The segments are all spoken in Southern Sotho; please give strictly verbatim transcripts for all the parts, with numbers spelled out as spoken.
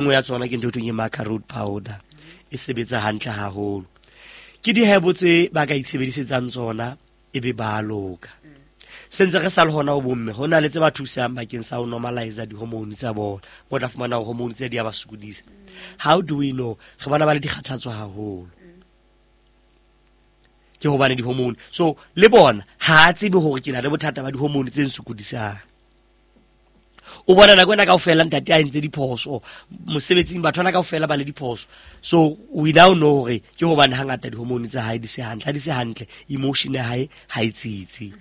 Nngwe ya tsona ke ntho e thweng ke maca root powder, e sebetsa hantle haholo. Ke di-herb tse ba ka itshebedisetsang tsona, ebe ba loka. Sentse re sa le hona ho bomme, ho na le tse ba thusang bakeng sa ho normalize di-hormone tsa bona. Mo tla fumana hore hormone tse di a ba sokodisa. How do we know? Re bona ba le dikgathatso haholo, ke hobane di-hormone. So le bona ha a tsebe hore ke na le bothata ba di-hormone tse nsokodisang. O bona nako ena kaofela ntate a entse diphoso mosebetsing, batho bana kaofela ba le diphoso. So we now know hore ke hobane hangata di-hormone tsa hae di se hantle. Ha di se hantle, emotion ya hae ha e tsitsi.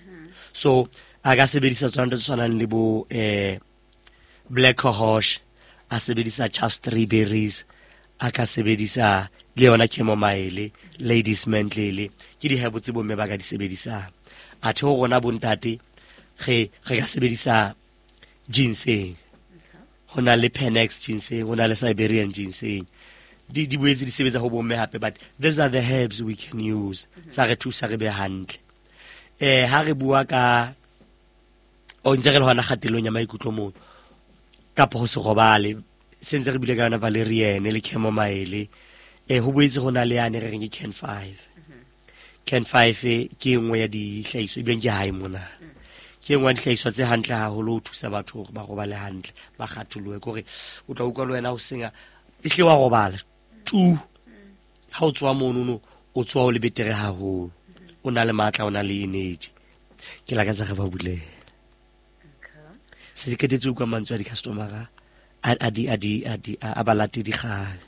So a ka sebedisa tsona ntho tse tshwanang le bo eh black cohosh, a sebedisa chaste berries, a ka sebedisa le yona chamomile, ladies mantle. Ke di-herb tse bomme ba ka di sebedisang. Athe ho rona bontate, re re ka sebedisa ginseng. Ho na le Panax ginseng, ho na le Siberian ginseng. di di boetse di sebetsa ho bomme hape, but these are the herbs we can use tsa re thusa re be hantle. eh ha re bua ka o ntse re le hona kgatellong ya maikutlo mono kapa ho se robale, se ntse re bile ka yona valerian le chamomile. eh ho boetse ho na le yane re reng ke can five. Can five ke e nngwe ya dihlahiswa, ebileng ke hae mona. Ke e nngwe ya dihlahiswa tse hantle haholo ho thusa batho hore ba robale hantle, ba kgatholohe. Ke hore o tla utlwa le wena o senga ehle wa robala tu. Ha o tsoha monono, o tsoha o le betere haholo, o na le matla, o na le energy. Ke lakatsa re ba bulela. Se ke qetetse utlwa mantswe a di-customer-a a a di a di a di a balatedi kgale.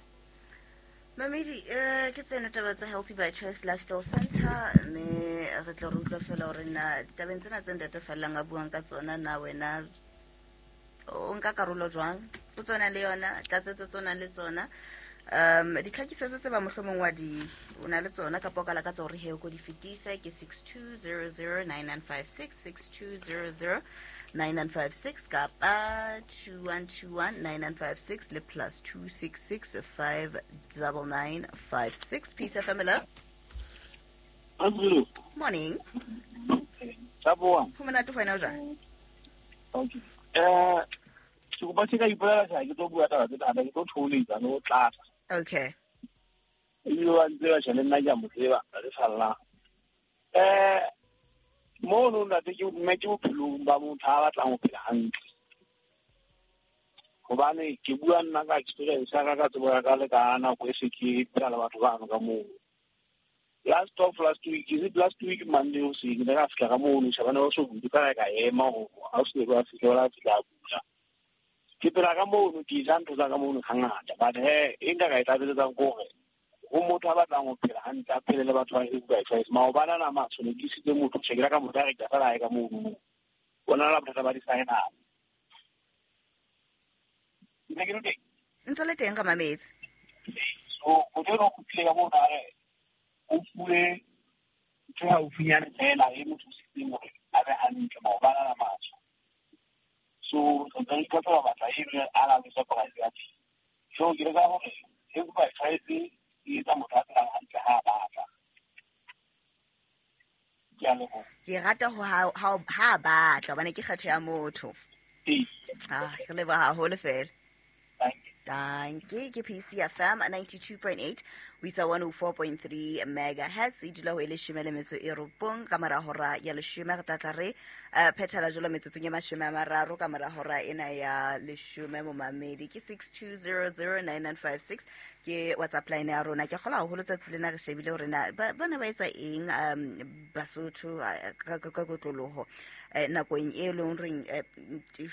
Mamedi, um ke tseno taba tsa Healthy by Choice Lifestyle Center, mme re tlo re utlwa fela gore na ditabeng tsena tse ntate Fellang a buang ka tsona, na wena o nka karolo jwang? Potso na le yona tlatsetso tsona le tsona, um ditlhakisetso tse ba mohlomong wa di o na le tsona kapa o ka lakatsa hore he o ko di fetise, ke six two zero zero nine nine five six six two zero zero nine nine five six kapa two one two one nine nine five six le plus two six six five double nine five six. Peace F M, hello. Azulu. Morning. Tsaboa. Ho monate ho wena, o jwang? Okay. Eh, ke kopa se ka ipolela sa ke tlo bua taba tse thata, ke tlo thoholetsa le ho tlatsa. Okay. Ebile wa ntseba tjhe, le nna ke a mo tseba, re sallang. Eh, mono ntate ke mme ke bophelong ba motho a batlang ho phela hantle. Hobane ke bua nna ka experience ya ka, ka tsebo ya ka le ka nako e se ke phela le batho bano ka moo. Last of last week, is it last week Monday hoseng, ne ka fihla ka mono, shebane o so bule, ka ka ema ho ha o se ba fihla ba fihla a bula. Ke phela ka mono, ke ja ntho tsa ka mono hangata, but he e nka ka e tlatsetsang ke hore ho motho a batlang ho phela hantle, a phele le batho ba Healthy by Choice. Maobane ana a matsho ne ke isitse motho, tjhe, ke la ka mo director fela hae ka mono. O na le bothata ba di-sinus. Ntse ke le teng? Ntse le teng, re mametse. So motho enwa o kgutlile ka mono, a re o fuwe ntho e haufinyane fela e mo thusitseng hore a be hantle maobane ana a matsho. So re ntse re itlwaetsa ho batla eno a na le price ya teng. So ke leka hore Healthy by Choice e etsa motho a phelang hantle ha a batla. Ke a leboha. Ke rata ho ha ha ha batla hobane ke kgetho ya motho. Ee. Ah, re leboha haholo fela. Thank you. Danke. Ke P C F M ninety-two point eight ho isa one oh four point three megahertz. E dula ho e leshome le metso e robong ka mora hora ya leshome. Re tla tla re, eh, phethela jwalo metsotsong ya mashome a mararo ka mora hora ena ya leshome. Momamedi, ke six two zero zero nine nine five six ke WhatsApp line ya rona. Ke kgolwa haholo tsatsi lena re shebile hore na ba, ba ne ba etsa eng, um, Basotho, eh, ka, ka, ka kotloloho, eh, nakong e leng horeng, eh, di,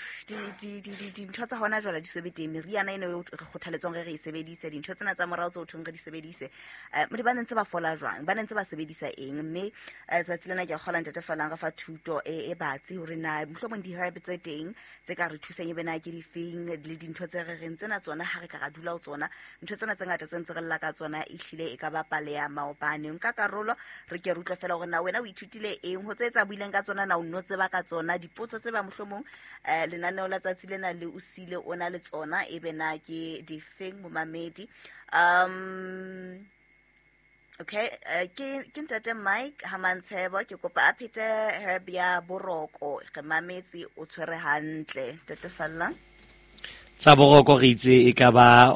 di, di, di, dintho tsa hona jwale di so be teng, meriana ena eo re kgothaletswang re re e sebedise, dintho tsena tsa morao tseo thweng re di sebedise, eh, ba ne ntse ba fola jwang, ba ne ntse ba sebedisa eng? Mme, eh, tsatsi lena ke a kgolwa ntate Fellang re fa thuto e, e batsi hore na mohlomong di-herb tse teng tse ka re thusang e be na ke difeng, le dintho tse re reng tsena tsona ha re ka ra dula ho tsona, ntho tsena tse ngata tse ntse re lla ka tsona ehlile e ka ba pale ya maobane. Nka karolo re ke re utlwe fela hore na wena o ithutile eng ho tse tsa buileng ka tsona, na o nno tseba ka tsona, dipotso tse ba mohlomong, eh, lenaneo la tsatsi lena le o sile o na le tsona e be na ke difeng, momamedi? Um, okay, eh, ke, ke ntate Mike Hamantshebo, ke kopa a phete herb ya boroko, re mametse, o tshwere hantle. Ntate Falla. Tsa boroko re itse e ka ba